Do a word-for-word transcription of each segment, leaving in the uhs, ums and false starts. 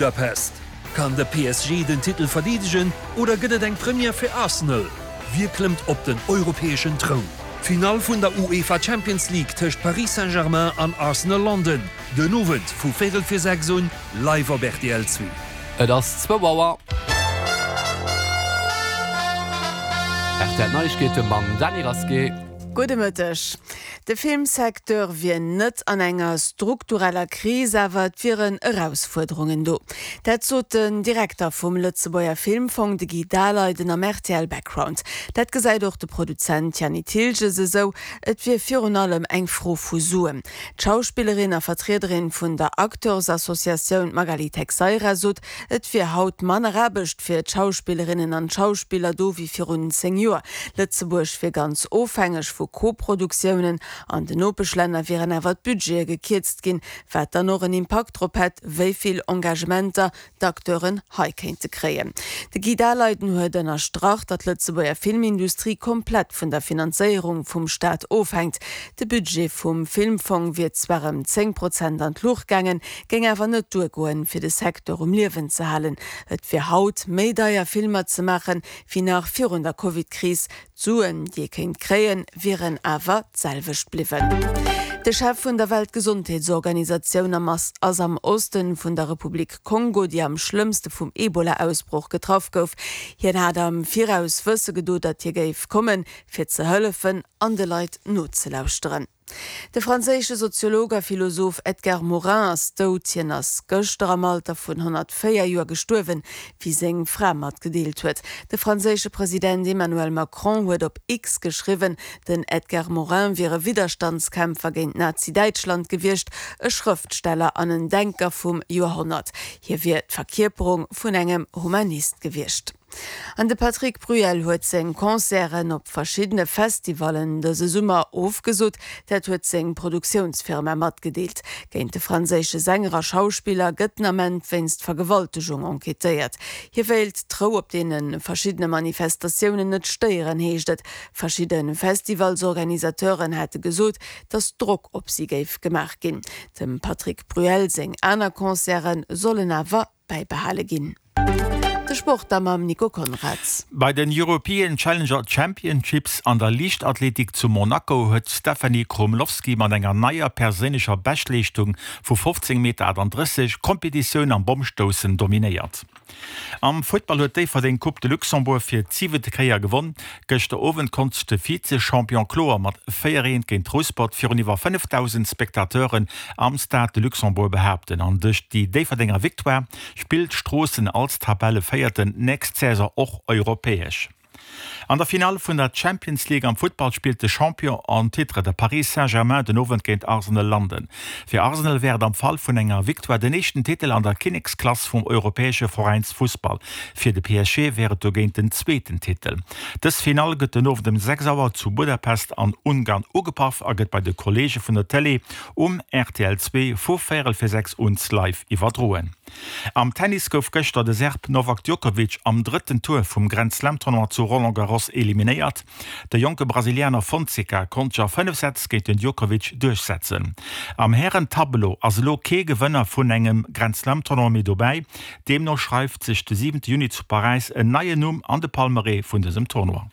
Budapest, Kann de P S G den Titel verdeedegen oder gëtt et eng Première fir Arsenal? Wie klëmmt op den europäeschen Troun? Finall vun der UEFA Champions League tëscht Paris Saint-Germain an Arsenal London, den Owend vu véierel fir sechs un, live op R T L zwee. Et ass zwou Auer. R T L Neiegkeete mam Dany Rasqué. Gudde Mëtteg. De Filmsecteur wier net an enger struktureller Kris, awer et wieren Erausfuerderungen do. Dat sot den Direkter vum Lëtzebuerger Filmfong, de Guy Daleiden, am R T L Background. Dat gesäit och de Produzent Yanny Thilges esou, et wier virun allem eng Fro vu Suen. D'Schauspillerin a Vertriederin vun der Acteursassociatioun Magali Texeira sot, et wier haut manner Aarbecht fir d'Schauspillerinnen an d'Schauspiller do wéi virun zéng Joer. Lëtzebuerg wier ganz ofhängeg vu Koproduktiounen, an den Nopeschlänner wieren awer d'Budgete gekierzt ginn, wat dann och en Impakt drop hätt, wéi vill Engagementer d'Acteuren hei kéinte kréien. De Guy Daleiden huet ënnerstrach, datt d'Lëtzebuerger Filmindustrie komplett vun der Finanzéierung vum Staat ofhänkt. De Budget vum Filmfong wier zwar ëm zéng Prozent an d'Luucht gaangen, géing awer net duergoen, fir de Secteur um Liewen ze halen. Et wier haut méi deier Filmer ze maachen, wéi nach virun der Covid-Kris. D'Suen, déi ee kéint kréien, wieren awer d'selwecht bliwwen. De Chef vun der Weltgesondheetsorganisatioun ass am Oste vun der Republik Kongo, déi am schlëmmste vum Ebola-Ausbroch getraff gouf. Hien hat am Viraus wësse gedoen, datt hie géif kommen, fir ze hëllefen an de Leit nozelauschteren. De franséische Soziolog a Philosoph Edgar Morin ass dout. Hien ass gëschter am Alter vun honnert véier Joer gestuerwen, wéi seng Fra matgedeelt huet. De franséische President Emmanuel Macron huet op X geschriwwen, den Edgar Morin wier e Widderstandskämpfer géint Nazi-Däitschland gewiescht, e Schrëftsteller an en Denker vum Joerhonnert. Hie wier d'Verkierperung vun engem Humanist gewiescht. An de Patrick Bruel huet seng Concerten op verschiddene Festivallen dëse Summer ofgesot, dat huet seng Produktiounsfirma matgedeelt. Géint de franséische Sänger a Schauspiller gëtt den Ament wéinst Vergewaltegung enquêtéiert. Hie wéilt d'Rou op deene verschiddene Manifestatiounen net stéieren, heescht et. Verschidde Festivalsorganisateuren hate gesot, datt Drock op si géif gemaach ginn. Dem Patrick Bruel seng aner Concerte sollen awer bäibehale ginn. De Sport da mam Nico Konrads. Bei den European Challenger Championships an der Liichtathletik zu Monaco huet d'Stephanie Krumlovsky mat enger neier perséinlecher Beschtleeschtung vu fofzéng Meter achtandrësseg d'Kompetitioun am Bommstoussen dominéiert. Am Futtball huet Déifferdeng d'Coupe de Luxembourg fir d'siwente Kéier gewonn. Gëschter Owend konnt sech de Vize-Champion kloer mat véier eent géint Rouspert virun iwwer fënnefdausend Spectateuren am Stade de Luxembourg behaapten. An duerch déi Déifferdenger Victoire spillt Stroossen als Tabellevéierten nächst Saison och europäesch. An der Finall vun der Champions League am Futtball spillt de Champion en titre, de Paris Saint-Germain, den Owend géint Arsenal London. Fir Arsenal wär et am Fall vun enger Victoire den éischten Titel an der Kinneksklass vum europäesche Veräinsfussball. Fir de P S G wär et dogéint den zweeten Titel. Dës Finall gëtt den Owend ëm sechs Auer zu Budapest an Ungarn ugepaff a gëtt bei de Kolleege vun der Tëlee um R T L zwee vu véierel fir sechs un live iwwerdroen. Am Tennis gouf gëschter de Serb Novak Djokovic am drëtten Tour vum Grand Slam Tournoi zu Roland Garros eliminéiert. De jonke Brasilianer Fonseca konnt sech a fënnef Sätz géint den Djokovic duerchsetzen. Am Hären-Tableau ass elo kee Gewënner vun engem Grand Slam Tournoi méi dobäi. Deemno schreift sech de siwente Juni zu Paräis en neien Numm an de Palmarès vun dësem Tournoi.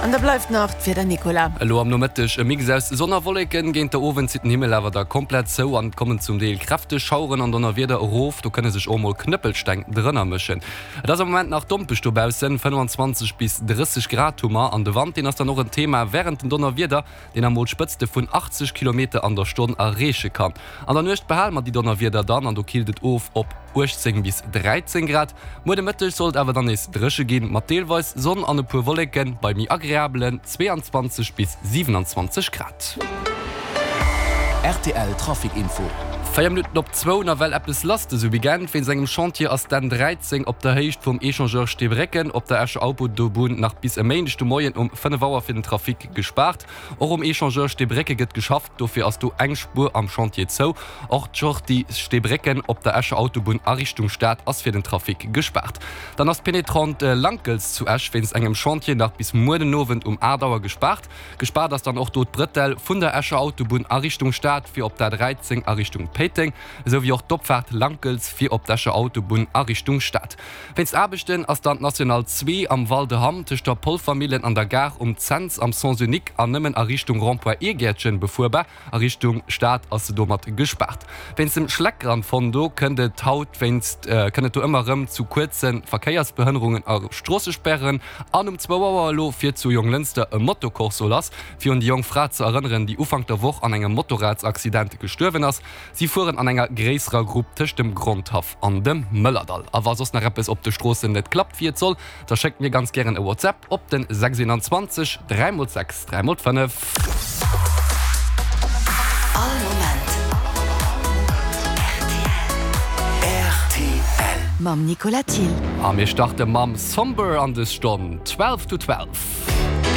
An da bleift nach d'Wieder, Nicolas. Elo am Nomëtteg e Mix aus Sonn a Wolleken, géint de Owend zitt den Himmel awer da komplett zou an et kommen zum Deel kräfteg Schaueren an Donnerwieder erof. Do kënne sech och mol Knëppelsteng drënner mëschen. Et ass am Moment nach dompeg dobaussen, fënnefenzwanzeg bis drësseg Grad hu mer an de Wand, deen ass dann och en Thema wärend den Donnerwieder, deen emol Spëtzte vun achtzeg Kilometer an der Stonn erreeche kann. An der Nuecht behale mer déi Donnerwieder dann an do killt et of op uechtzéng bis dräizéng Grad. Muer de Mëtteg soll et awer dann nees dréche ginn, mat deelweis Sonn an e puer Wolleken, bei méi agreabelen zweeanzwanzeg bis siwenanzwanzeg Grad. R T L Trafic Info. Véier Minutten op zwou, nawell eppes lass dëse Weekend. Wéinst engem Chantier ass d'N dräizéng op der Héicht vum Echangeur Steebrécken op der Escher Autobunn nach bis e Méindeg de Moien um fënnef Auer fir den Trafic gespaart. Och um Echangeur Steebrécke gëtt geschafft, dofir ass do eng Spuer am Chantier zou. Och d'Sortie Steebrécken op der Escher Autobunn a Richtung Stad ass fir den Trafic gespaart. Dann ass d'Pénétrante Lankels zu Esch wéinst engem Chantier nach bis muer den Owend um aacht Auer gespaart. Gespaart ass dann och do d'Brëtell vun der Escher Autobunn a Richtung Stad fir op d'A dräizéng a Richtung Péiteng. Réiteng, esou wéi och d'Opfaart Lankels fir op d'Escher Autobunn a Richtung Stad. Wéinst Aarbechten ass dann d'National zwee am Val de Hamm tëscht der Polvermillen an der Gare um Cents am Sens unique an nëmmen a Richtung Rond-point Irgäertchen befuerbar. A Richtung Stad ass se domat gespaart. Wéinst dem Schleckgrandfondo kënnt et haut wéinst kënnt et do ëmmer erëm zu kuerze Verkéiersbehënnerungen a Stroossesperren. An um zwou Auer elo fiert zu Jonglënster e Motocorso lass, fir un déi jonk Fra ze erënneren, déi Ufank der Woch an engem Motorradsaccident gestuerwen ass. Si fueren an enger gréisserer Grupp tëscht dem Grondhaff an dem Mëllerdall. A wa soss nach eppes op de Stroossen net klappt wéi et soll, da schéckt mir ganz gären e WhatsApp op den sechs eenanzwanzeg dräi mol sechs dräi mol fënnef. All Moment rtl. Mam Nicolas Thill. A mir starte mam Somber an des Stonn, twelve to twelve.